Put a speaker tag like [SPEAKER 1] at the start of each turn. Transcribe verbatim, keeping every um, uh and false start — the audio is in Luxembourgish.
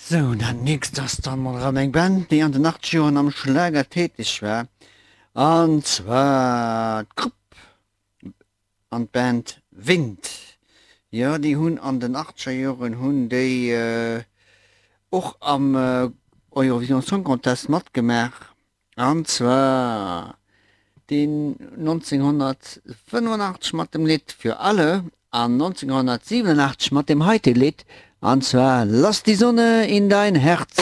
[SPEAKER 1] Sou, dat nächst ass dann mol erëm eng Band, déi an den achtzeger Joren am Schlager täteg war, an zwar d'Grupp an d'Band Wind. Jo, déi hunn an den achtzeger Joren hunn déi och am Eurovision Song Contest matgemaach, an zwar deen nonzénghonnertfënnefenachtzeg mat dem Lidd Für alle an nonzénghonnertsiwenenachtzeg mat dem heite Lidd, an zwar Lass die Sonne in dein Herz.